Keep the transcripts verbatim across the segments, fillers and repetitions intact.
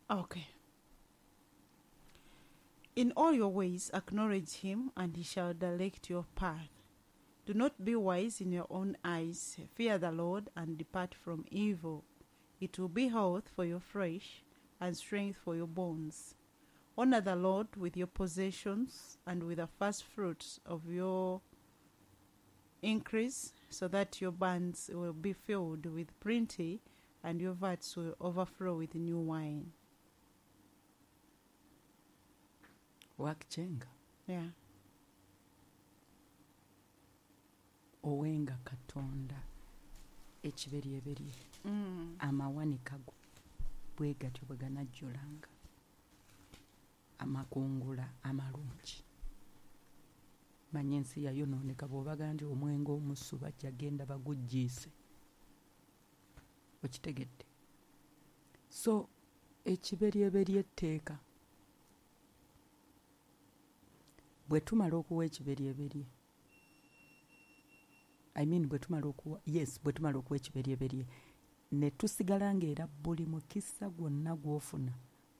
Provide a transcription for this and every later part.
Okay. In all your ways acknowledge him, and he shall direct your path. Do not be wise in your own eyes. Fear the Lord and depart from evil. It will be health for your flesh and strength for your bones. Honor the Lord with your possessions and with the first fruits of your increase, so that your barns will be filled with plenty and your vats will overflow with new wine. Wakichenga. Yeah. Owenga Katonda ekiberyeberye Mm. amawanika go bwe gatyo bwe ganajjulanga amakungula amalungi. Manya ensi yayonooneka bw'obaga nti omwenge omusu bajja genda baguggiise. Okitegedde? So ekiberyeberye etteeka bwe tumala okuwa ekiberyeberye, I mean bwe tumala okuwa, yes, bwe tumala okuwa ekiberyeberye ne tusigala ng'era buli mukisa gwonna gw'ofuna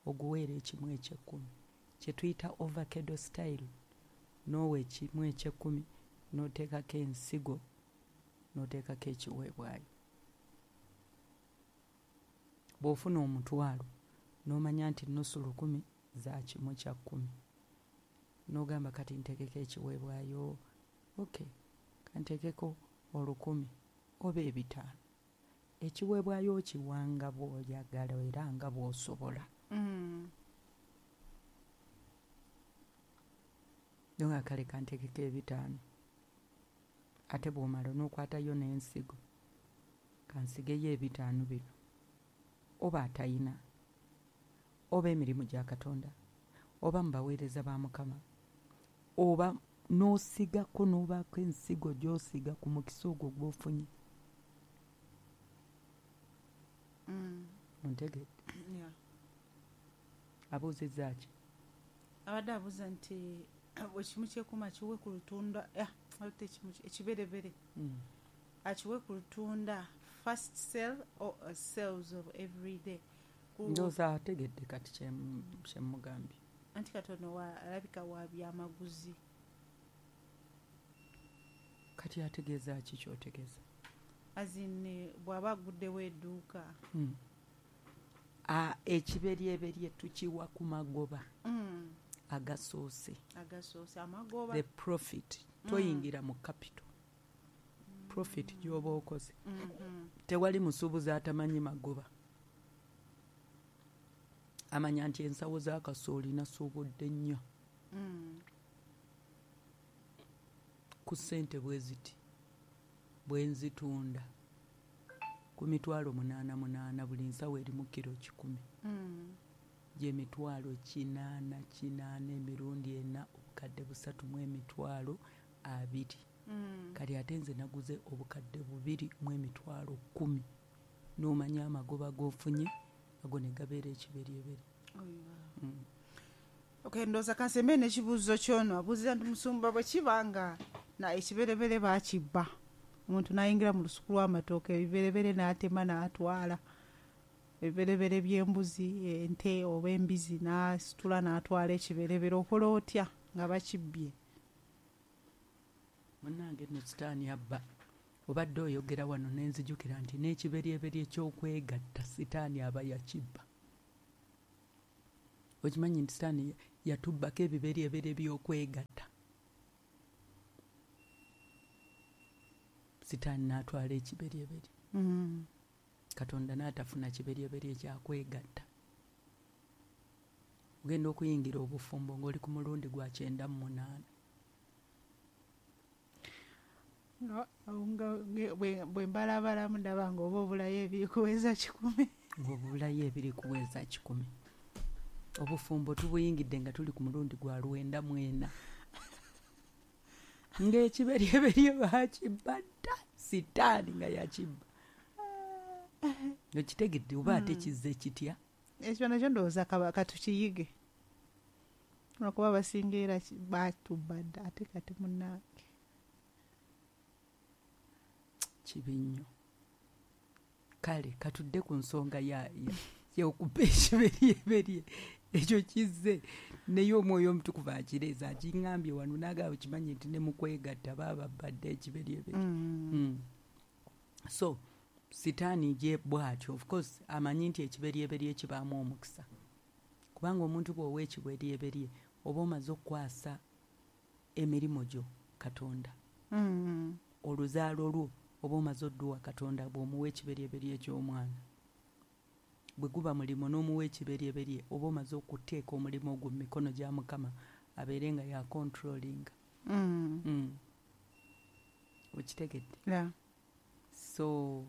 oguweera ekimu ekyekkumi kye tuyita avocado style. N'owa ekimu ekyekkumi n'oteekako ensigo n'oteekako ekiweebwayo. Bw'ofuna omutwalo n'omanya nti nnusu lukumi za kimu kya kkumi, n'ogamba kati nteekeko ekiweebwayo, okay, kanteekeko olukumi oba ebitaano. Ekiweebwayo okiwanga bw'oyagala era nga bw'osobola. Mm. Nga kale kanteekeko ebitaano, ate bw'omala n'okwatayo n'ensigo, kansigeyo ebitaano bino, oba atayina, oba emirimu gya Katonda, oba mu baweereza ba Mukama, oba n'osigako n'obaako ensigo gy'osiga ku mukisa ogwo gw'ofunye. Mm. Ontegedde? Yeah. Abuuzizza ki? Abadde abuuza nti ekimu kyekuma akiwe ku lutunda, ah, ate ekimu kye- ekiberebere Mm. akiwe ku lutunda, first sale or uh, sales of every day. Ku- Ndowooza ategedde kati kye- kye mmugambye. Anti katono wa- alabika wa byamaguzi. Kati ategeeza ki ky'otegeeza? As in, eh, bw'aba aguddewo edduuka. Mm. Ah, ekiberyeberye tukiwa ku magoba Mm. agasoose. Agasoose amagoba. The profit. Toyingira mu capital. Profit gy'oba okoze. Mm-hmm. Tewali musuubuzi atamanyi magoba. Amanya nti ensawo za kasooli nasuubudde nnyo. Mm. Ku ssente bwe ziti bwe nzitunda ku mitwalo munaana munaana, buli nsawo erimu kiro kikumi. Mm. Gy'emitwalo kinaana kinaana emirundi ena, obukadde busatu mu emitwalo abiri. Mm. Kati ate nze naguze obukadde bubiri mu emitwalo kkumi. N'omanya amagoba g'ofunye ago ne gabeera ekiberyeberye. Oh, wow. Mm. Okay, ndowooza kansembe n'ekibuuzo ky'ono. Abuuza nti musumba bwe kiba nga na ekiberebere baakibba, omuntu n'ayingira mu lusuku lw'amatooke ebiberebere n'atema n'atwala, ebiberebere by'embuzi, ente oba embizi n'asitula n'atwala ekiberebere, okola otya nga bakibbye? Munnange nno sitaani abba. Obadde oyogera wano ne nzijukira nti n'ekiberyeberye ky'okwegatta sitaani aba yakibba. Okimanyi nti sitaani yatubbako ebiberyeberye by'okwegatta. Sitaani n'atwala ekiberyeberye. Mm. Katonda n'atafuna kiberyeberye kyakwegatta. Ogenda okuyingira obufumbo ng'oli ku mulundi gwa kyenda mu munaana. Nga, nga, nge, bwe, bwe mbalabalamu ndaba ng'oba obulayo ebiri kuweza kikumi. Ng'obulayo ebiri kuweza kikumi. Obufumbo tubuyingidde nga tuli ku mulundi gwa lwenda mu ena. Ng'ekiberyeberye baakibba dda, sitaani nga yakibba. Okitegedde oba ate Mm. kizze kitya? Ekyo nakyo ndowooza kaba katukiyige. Lwakuba abasinga era ki-, baatubba dda, ate kati munnange. Kibi nnyo. Kale katudde ku nsonga ya, ya, Kyekuba ekiberyeberye ekyo kizze naye omwoyo omutukuvu akireeza akiŋŋambye wano n'agamba kimanyi nti ne mu kwegatta baaba badde ekiberyeberye. Mm. Mm. So sitaani gye bw'atyo of course amanyi nti ekiberyeberye kibaamu omukisa, kubanga omuntu bw'owa ekiberyeberye oba omaze okukwasa emirimu gyo Katonda. Mm. Oluzaalo lwo oba omaze odduwa Katonda bw'omuwa ekiberyeberye ky'omwana. Bwe guba mulimu n'omuwa ekiberyeberye oba omaze okuteeka omulimu ogwo mu mikono gya Mukama abeere nga ya controlling. Mm. Mm. Okitegedde? Yeah. So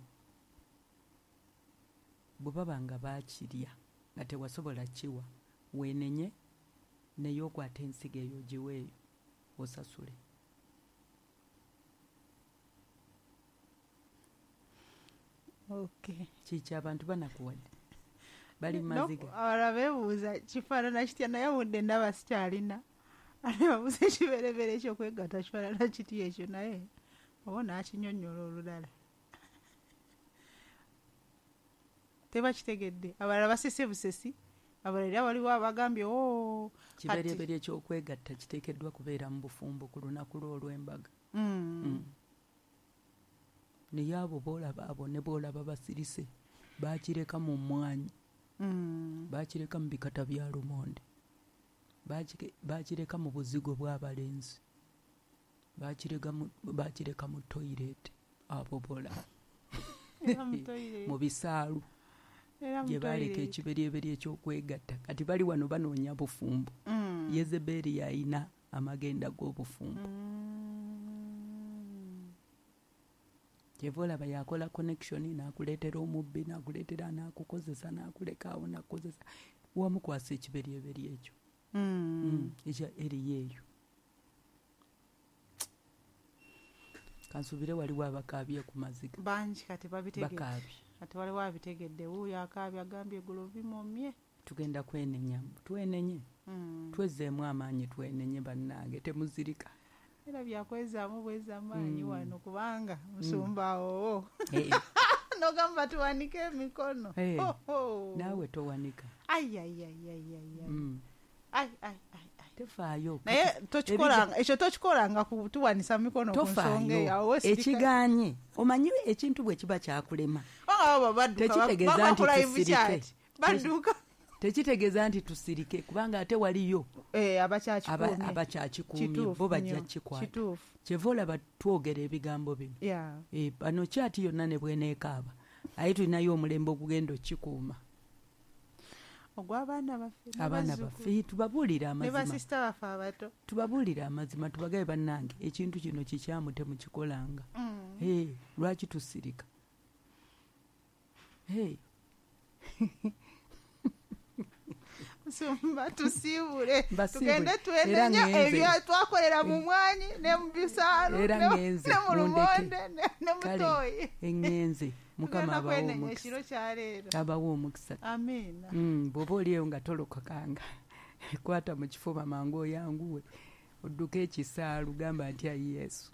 bwe baba nga baakirya nga tewasobola kiwa, weenenye naye okwata ensigo eyo ogiweeyo osasule. Okay. Kiki abantu banakuwadde bali maziga. Abalala beebuuza kifaanana kitya naye budde ndaba sikyalina. Ate babuuza ekibereberye ekyokwegatta kifaanana kitya ekyo naye oba n'akinyonnyola olulala. Tebakitegedde. Abalala basese busesi. Abalala era waliwo abagambye oo. Kibereberye ekyokwegatta kiteekeddwa kubeera mu bufumbo ku lunaku lwo olw'embaga. Mm. Mm. Naye abo b'olaba abo ne b'olaba basirise baakireka mu mmwanyi. Mm. Baakireka mu bikata bya lumonde. Baakireka mu buzigo bw'abalenzi. Baakireka mu, baakireka mu toyireeti abo b'olaba. Mu bisaalu. Gye baaleka ekiberyeberye ekyokwegatta. Kati bali wano banoonya bufumbo. Mm. Yezebeeri yalina amagenda g'obufumbo. Mm. Kyeva olaba yakola connection n'akuleetera omubbi n'akuleetera n'akukozesa n'akuleka awo n'akukozesa. Wamukwasa ekiberyeberye ekyo. Mm. Mm. Ekya eriyo eyo. Kansuubire waliwo abakaabye ku maziga. Bangi kati babitegedde. Bakaabye. Kati waliwo abitegedde. Wuuyo akaabye agambye eggulo bimomye. Tugenda kwenenya. Twenenye. Mm. Twezzeemu amaanyi twenenye bannange temuzirika. Era byakwezaamu bweza amaanyi mm. wano kubanga musumba awo. Hey. Nogamba tuwanike emikono. Hey. Oh, oh. Naawe towanika. Ai ai ai ai ai. Mm. Ai ai ai ai. Tefaayo. Naye tokikolanga ekyo tokikolanga kutuwanisa mikono ku nsonga eyo. Ekiganye. Omanyi ekintu bwe kiba kyakulema. Abo badduka. Tekitegeeza nti tusirike. Badduka. Tekitegeeza nti tusirike kubanga ate waliyo eh abakyakikuumye abakyakikuumye bo bajja kikwata. Kyeva olaba twogera ebigambo bino. Yeah. Eh bano kyati yonna ne bweneekaaba. Aye tulinayo omulembe ogugenda okikuuma. Ogw'abaana baffe. Abaana baffe tubabuulire amazima. Ne basisita baffe abato. Tubabuulire amazima tubagabe bannange ekintu kino kikyamu temukikolanga. Mm. Eh lwaki tusirika? Hey. Musumba tusiibule tugende twenenya ebyo twakolera mu mwanyi ne mu bisaalu ne mu lumonde ne mu toyi. Engenze Mukama abawe omukisa. Abawe omukisa. Amiina. Mm, bw'oba oliyo nga tolokokanga kwata mu kifuba mangu oyanguwe odduke ekisaalu gamba nti ayi Yesu.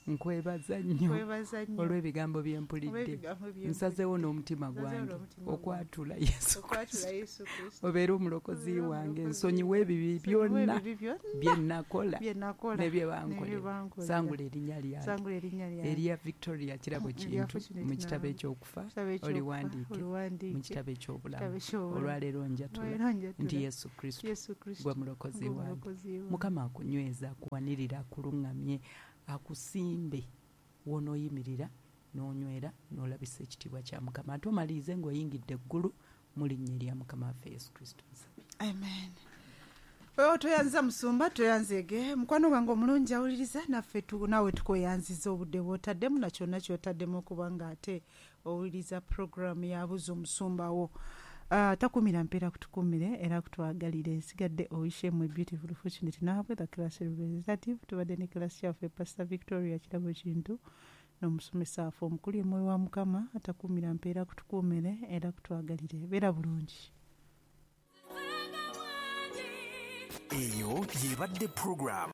Nkwebaza nnyo olw'ebigambo bye mpulidde. Nsazeewo n'omutima gwange okwatula Yesu Kristo. Obeere omulokozi wange nsonyiwe ebibi byonna bye nakola ne bye bankolera. Sangula erinnya lyange erya Victoria Kirabo Kintu mu kitabo eky'okufa oliwandiike mu kitabo eky'obulamu. Olwaleero njatula nti Yesu Kristo gwe mulokozi wange. Mukama akunyweze, akuwanirira, akuluŋŋamye, akusimbe w'onooyimirira n'onywera n'olabisa ekitiibwa kya Mukama. Ate omalirize ng'oyingidde eggulu mu linnya erya Mukama waffe Yesu Kristo. Amen. Wewe toyanza musumba toyanzege mukwano gwange omulungi awuliriza naffe naawe tukweyanziza obudde bw'otaddemu na kyonna ky'otaddemu okubanga ate owuliriza puroguramu yabuza omusumba wo. Uh, takumira mpera kutukumire era kutwagalire nsigadde oyishemu beautiful fortunate naabwe the class representative tubadde ne class yaffe Pastor Victoria Kirabo Kintu n'omusomesa waffe omukulu omwoyo wa Mukama atakumira mpeera kutukumire era kutwagalire beera bulungi. Eyo yebadde program